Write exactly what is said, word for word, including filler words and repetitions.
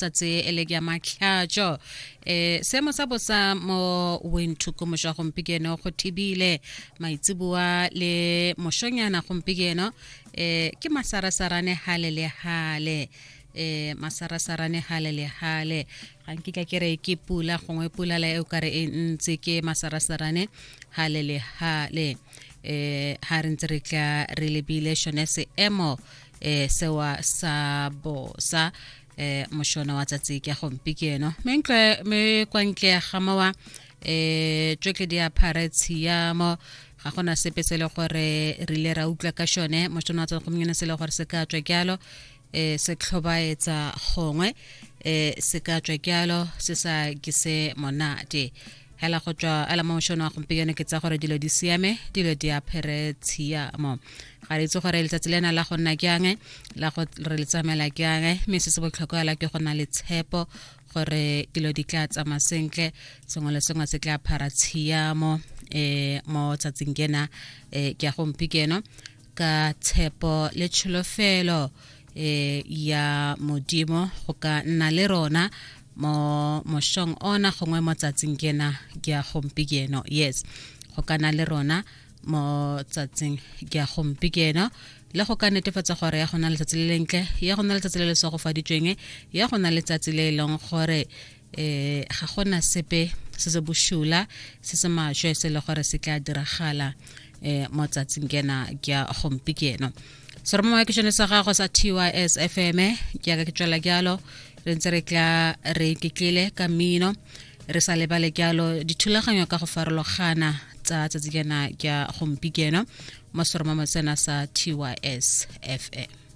Tsatsi e le ya matlhatso eh seemo sa bosa mo Windhoek mošwa gompieno go thibile maitseboa le mošonyana gompieno eh ke masarasarane hale le hale eh masarasarane hale le hale ga nkitla ke re ke pula gongwe pula la e o kare e ntse ke masarasarane hale le hale eh ha re ntse re tla re lebile shone seemo eh sewa sa bosa eh mošono wa tsatsi ke gompieno mme me kwa ntle ga mowa eh tsotlhe di apare tshiamo ga gona sepe se le gore re ile ra utlwa ka shone mošono wa tsatsi gompieno se le gore se ka tswa jalo eh se tlhobaetsa gongwe eh se ka tswa jalo se sa ke se monate hela go tswa ala mo mošono wa gompieno ke tsa gore dilo di siame dilo di apere tshiamo ga re itse gore letsatsi lena la go nna jang la go re le tsamaela jang mme se se botlhokwa la ke go na le tshepo gore dilo di tla tsamaya sentle sengwe le sengwe se tla phara tshiamo um mo tsatsing kena um ke ya gompieno ka tshepo le tsholofelo um ya modimo go ka nna le rona mo mošong ona gongwe mo tsatsing kena ke ya gompieno yes go ka nna le rona mo tsatsing ke ya gompieno le go ka netefatsa gore ya go na letsatsi le lentle ya go na letsatsi le le segofaditsweng ya go na letsatsi le e leng gore eh ga gona sepe se se bošula se se maswe se le gore se tla diragala eh mo tsatsing kena ke ya gompieno seromamowa ke sone sa gago sa T Y S F M ke yaka ke tswela jalo re ntse re tla re iketlile ka mmino re sa lebale jalo dithulaganyo ka go farologana tsa tsatsi kena ke ya gompieno mo seromamowa sena sa T Y S F M.